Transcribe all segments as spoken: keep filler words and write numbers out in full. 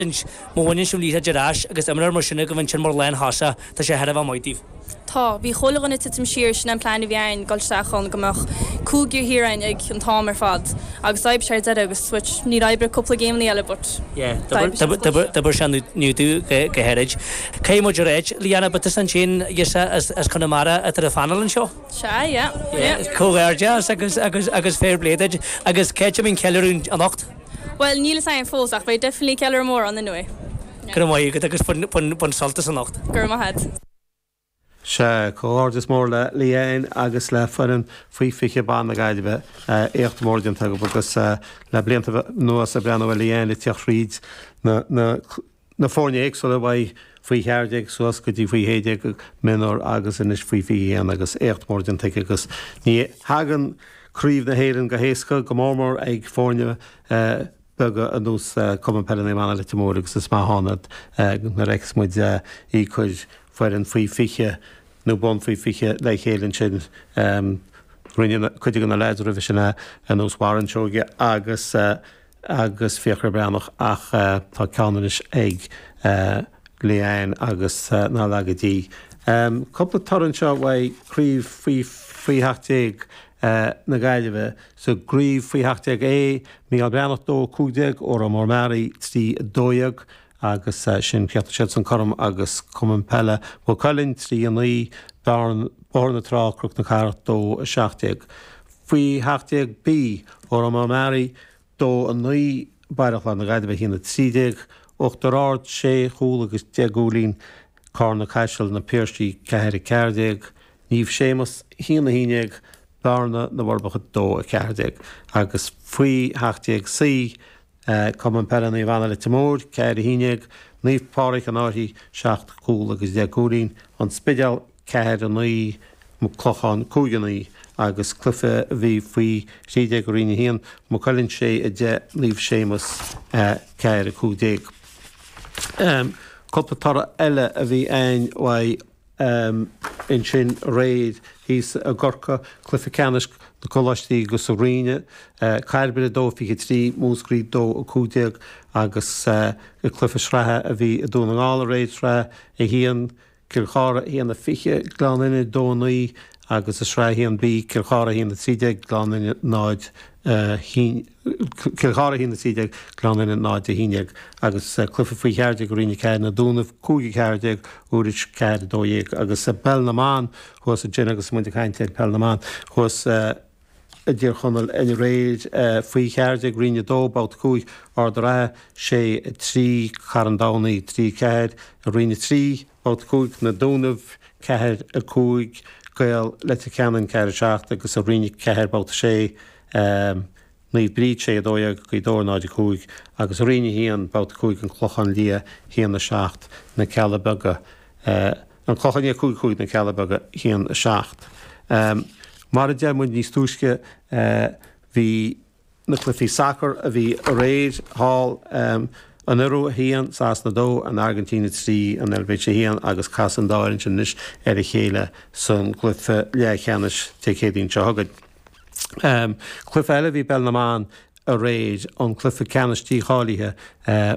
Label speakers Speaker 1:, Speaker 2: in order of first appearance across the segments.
Speaker 1: Má bhaineann sibh liathróid ar ais agus imreoir mar sin go bhfuil sin mar lántosach tá sé thar a bheith maith daoibh.
Speaker 2: Tá, bhí chuile dhuine ag titim siar sin an plean a bhí againn dul isteach ann go mbeadh cúigear thiar againn ag an t-am ar fad agus d'oibrigh sé ar deireadh agus switch níor oibrigh cúpla géimní eile but
Speaker 1: D'oibrigh sé inniu go háirid. Cé muid réit Leanna but ansin as Conamara atá ar phainéal anseo?
Speaker 2: Sea, yeah.
Speaker 1: Comhghairdeas agus agus agus fair play duit agus cé mín ceiliúradh anocht?
Speaker 2: Well níl a fhios agam fós ach beidh definitely ceiliúradh mór ann anyway.
Speaker 1: Go maith agat agus bain sult as anocht.
Speaker 2: Gur maith.
Speaker 3: Se comhghairdeas mór le Leanne agus le foireann faoi fiche ban na Gaillimhe éacht mór déanta agus le blianta anuas ag breathnú ar Leanne le teacht thríd na na na foirne éagsúla bhaid faoi cheathair déag suas go dtí faoi shé déag mionúr agus anois faoi fiche haon agus éacht mór déanta agus ní thagann craobh na hÉireann go héasca go mór mór ag foirne beaga ar nós Cumann Peile Naomh Anna Leitir Móir agus is maith ann nuair a fheiceas muid í cur foireann faoi fiche nó bun faoi fiche le chéile ansin rinne cuid de na lads roimhe sin ar nós Warren Seoige agus agus Fiachra Breathnach ach tá ceann anois ag Leanne agus ná leagaidí. Cúpla toradh anseo uaidh craobh faoi faoi sheacht déag na Gaillimhe sa gcraobh faoi sheacht déag A, Mícheál Breathnach dó cúig déag, Órán Mór Meáraí trí dó dhéag agus sin chríochnaigh siad san cothrom agus Cumann Peile Mhaigh Cuilinn trí a naoi, Bóthar na Trá Cnoc na Cathrach dó a seacht déag. Faoi sheacht déag B, Órán Mór Meáraí dó a naoi, Baile Chláir na Gaillimhe a haon a trí déag, Uachtar Ard sé chúl agus deich gcúilín, Carna Caiseal na Piarsaigh ceathair a ceathair déag, Naomh Séamus haon a haon déag, Bearna na bhForbacha dó a ceathair déag agus faoi sheacht déag C, Cumann Peile Naomh Anna Leitir Móir ceathair a haon déag, Naomh Pádraig an Fhairche seacht gcúl agus deich gcúilín, An Spidéal ceathair a naoi, Maigh Chlocháin cúig a naoi agus cluiche a bhí faoi thrí déag i Roinn a haon, Maigh Cuilinn sé a deich, Naomh Séamus ceathair a cúig déag. Cúpla toradh eile a bhí ann uaidh ansin aréir thíos i gCorcaigh, cluiche ceannais na Coláistí agus sa Ríne, Cairbre dó fiche trí, Múscraí dó a cúig déag agus cluiche sraithe a bhí i Dún na nGall aréir sraith a haon, Cill Chartha a haon a fiche, Gleann Fhinne dó a naoi agus i sraith a haon B, Cill Chartha a haon a trí déag, Gleann Fhinne náid haon Cill Chartha a haon a trí déag, Gleann Fhinne náid a haon déag agus cluiche faoi cheathair déag i Roinn a ceathair na Dúnaibh cúig a ceathair déag, Iúrais ceathair a dó dhéag agus peil na mban thuas ansin agus muid ag caint ar peil na mban thuas i dTír Chonaill aréir faoi cheathair déag Roinn a dó, babhta cúig, Ard an Rátha sé a trí, Carn Domhnach trí ceathair, Roinn a trí, babhta cúig, na Dúnaibh ceathair a cúig, Gaeil Leitir Ceanainn ceathair a seacht agus i Roinn a ceathair babhta sé, Naomh Bríd sé a dó dhéag, Gaoth Dobhair náid a cúig agus i Roinn a haon, babhta cúig, an Clochán Liath haon a seacht, na Cealla Beaga. An Clochán Liath cúig cúig na Cealla Beaga haon a seacht. Mar a deir muid níos túisce bhí na cluichí sacair a bhí aréir thall, an Iorua a haon, Sasana dó, an Airgintín a trí, an Eilvéis a haon agus casfaidh an dá fhoireann sin anois ar a chéile san gcluiche leathcheannais Dé Céadaoin seo chugainn. Cluiche eile a bhí i bpeil na mban aréir, an cluiche ceannais dícháilithe,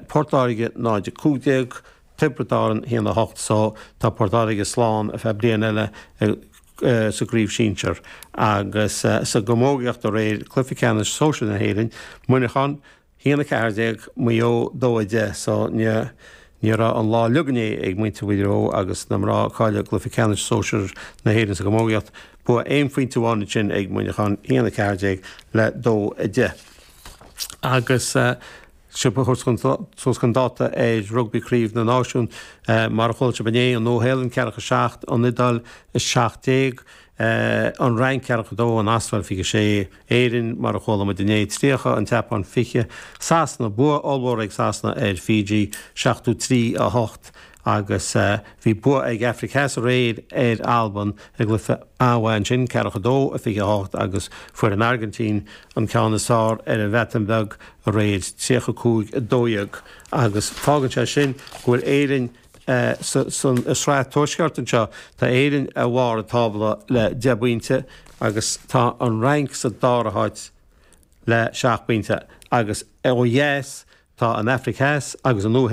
Speaker 3: Port Láirge náid a cúig déag, Tiobraid Árann a haon a hocht so tá Port Láirge slán ar feadh bliain eile sa gcraobh sinsir agus sa gcamógaíocht aréir, cluiche ceannais sóisir na hÉireann, Muineachán a haon a ceathair déag, Maigh Eo dó a deich so ní ní raibh an lá uilig inné ag muintir Mhaigh Eo agus na mná a cailleadh i gcluiche ceannais sóisir na hÉireann sa gcamógaíocht. Bua aon phointe amháin ansin ag Muineachán, a haon a ceathair déag le dó a deich. Agus. Sibh a thabhairt suas chun dáta ar Rugbaí Craobh na Náisiún. Mar a chuala sibh inné, an Nua-Shéalainn ceathracha seacht, an Iodáil a seacht déag, an Fhrainc ceathracha dó, an Astráil fiche sé, Éirinn, mar a chuala muid inné, tríocha, an tSeapáin fiche, Sasana, bua ollmhór ag Sasana ar Fiji, seachtó trí a hocht. Agus bhí bua ag Afraic Theas aréir ar Albain i gcluiche an-mhaith ansin, ceathracha dó a fiche a hocht, agus fuair an Airgintín an ceann is fearr ar an Bhreatain Bheag aréir, tríocha cúig a dó dhéag. Agus fágann sé sin go bhfuil Éirinn sa sraith tuaisceart anseo, tá Éirinn ar bharr an tábla le deich bpointe agus tá an Fhrainc sa dara háit le seacht bpointe agus ó dheas Tá an Afraic Theas agus an Nua